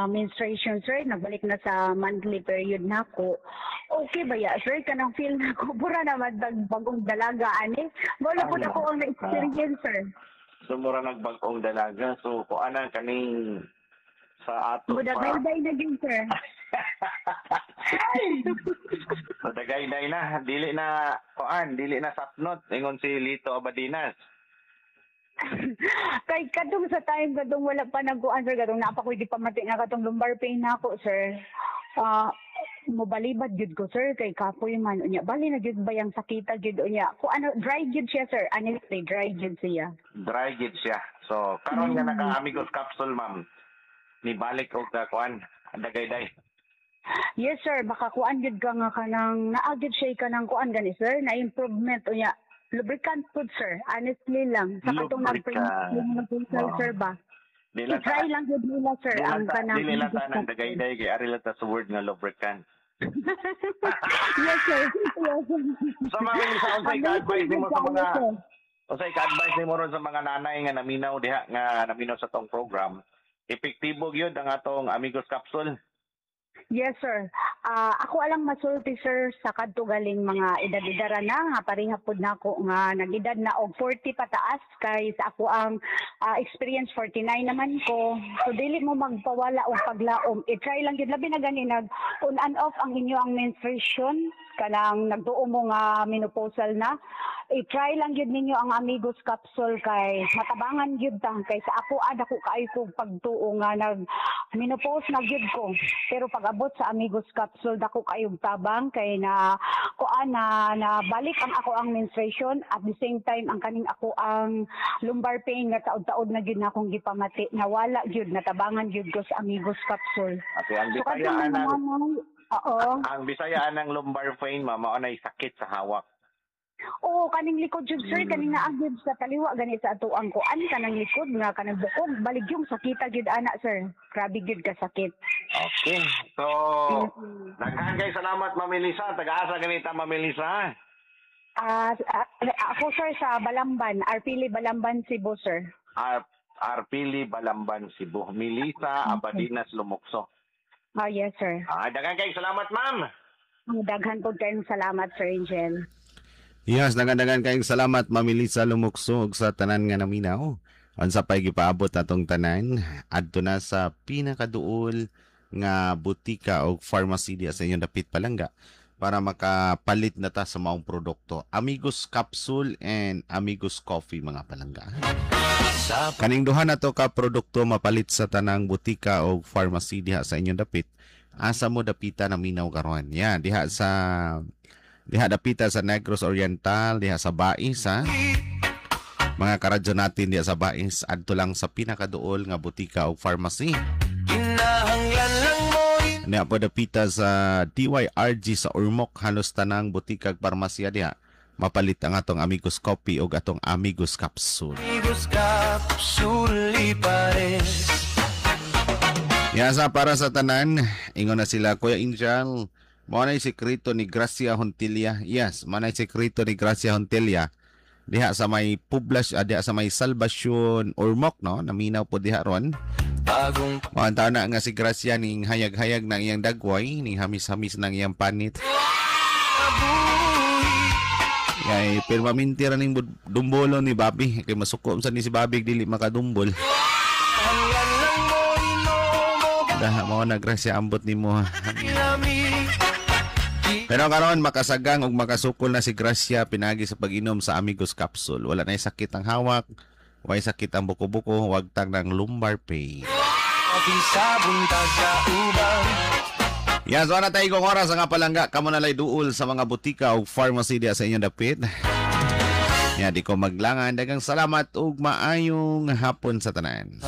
menstruation, sir. Nagbalik na sa monthly period na ako. Okay ba ya, sir? Kanang feel na ko pura naman bagong dalaga ani. Wala po Ano? ako ang na-experience, sir. So mura nagbag-ong dalaga. So kung ana kaning sa ato pa. Mudagayday na gyud, sir. So dagayday na, dili na kuan, dili na sapnot ingon si Lito Abadinas. Kay kadtong sa time kadtong wala pa nagkuan, sir, kadtong naa pa ko'y di pamati nga katong lumbar pain na ako, sir. Ah, mobalibad gyud ko, sir, kay kapoy man unya. Bali na gyud ba yang sakita gyud unya. Ko ano, dry gyud siya, sir. Honestly, dry gyud siya. Dry gid siya. So karon nga naka Amigos capsule, ma'am, ni balik og ka kuan, dagayday. Yes, sir, baka kuan gyud ka nga kanang naa gyud siya kanang kuan gani, sir, na improvement unya. Lubricant pud, sir, honestly lang. Sa katong Lubricant. nag-pre sir ba? Di lang I-try lang gyud nila, sir, di ang lang ta, kanang dili lang ta nang dagayday kay ari lang ta sa word nga lubricant. Yes, sir. Yes. So ma'am Elisa, unsay ka-advise nimo sa mga Sir. Unsay ka-advise nimo ron sa mga nanay nga naminaw diha, nga naminaw sa tong program? Epektibo gyud ang atong Amigos capsule? Yes, sir. Ah, ako alang masulti, sir, sa kadto galing mga edad-edara na nga pareha pud nako nga nag-edad na og 40 pataas, kay sa ako ang experience, 49 naman ko. So dili mo magpawala og paglaom. I-try lang gyud, labi na gani nag on and off ang inyo ang menstruation, kanang nagtuo mo nga menopausal na. I-try lang gyud ninyo ang Amigos capsule kay matabangan gyud ta, kay sa ako ada ko kaayo ko pagtuo nga nag menopause na gyud ko. Pero pag abot sa Amigos capsule, dako kayog tabang kay na kuan na, na balik ang ako ang menstruation, at the same time ang kaning ako ang lumbar pain nga taod-taod na gyud na akong gipamati, nawala gyud, natabangan gyud ko sa Amigos capsule. Okay, ang So Bisaya kadtong anang mga, oo. Ang Bisaya anang lumbar pain, ma'am, mao nay sakit sa hawak. Oo, kaning likod jud, sir, kaning naa gyud sa kaliwa gani sa atuang kuan, kanang likod nga kanang bukog, baligyong sakita gyud ana, sir. Grabe gyud ka sakit. Okay. So, daghan kay salamat, Ma'am Elisa. Taga-asa ganita, Ma'am Elisa? Ah, ako, sir, sa Balamban, Arpili, Balamban, Cebu, sir. Arpili, Balamban, Cebu. Melissa Abadinas Lumukso. Ah, yes, sir. Ah, daghan kay salamat, ma'am. Daghan po kayong salamat, Sir Angel. Yes, daghan-daghan kayong salamat, Ma'am Elisa Lumukso, ug sa tanan nga naminaw. Unsa pay gipaabot atong tanan adto na sa pinakaduol nga butika o pharmacy diya sa inyong dapit, palangga, para makapalit na ta sa maong produkto. Amigos Capsule and Amigos Coffee, mga palangga. Sa Kaning duha na to ka produkto mapalit sa tanang butika o pharmacy diha sa inyong dapit. Asa mo dapita naminaw karon? Yan, diha dapita sa Negros Oriental, diha sa Bais ha. Mga karadyo natin diha sa Bais, adto lang sa pinakaduol nga butika o pharmacy. Kinahanglan lang mo Niya po dapita sa DYRG sa Ormoc, halos tanang butika ug parmasya diha mapalit ang atong Amigos Coffee o atong Amigos Capsule. Amigos Capsule pares. Ya sa para sa tanan, ingon na sila, "Kuya Angel, mao na sekreto ni Gracia Hontilia." Yes, mao na sekreto ni Gracia Hontilia. Diha sa may Poblas, diha sa may Salvacion Ormoc, no? Naminaw po diha ron. Bagong Mao ang taon na nga si Gracia ning hayag-hayag ng iyang dagway, ning hamis-hamis ng iyang panit. Kay permanente ra ning dumbolo ni Bobby. Kay masuko sa ni si Bobby dili makadumbol. Hanggan lang mo inomo Daha mao na, Gracia, ambot nimo ha. Lami Pero karon makasagang ug makasukol na si Gracia pinagi sa pag-inom sa Amigos Capsule. Wala na sakit ang hawak, way sakit ang buko-buko, wagtang ng lumbar pain. Coffee sa buntag kauban. Yan, so na tayo kong oras nga palangga. Kamo na lay duol sa mga butika o pharmacy diya sa inyong dapit. Yan, di ko maglangan. Dagang salamat ug maayong hapon sa tanan.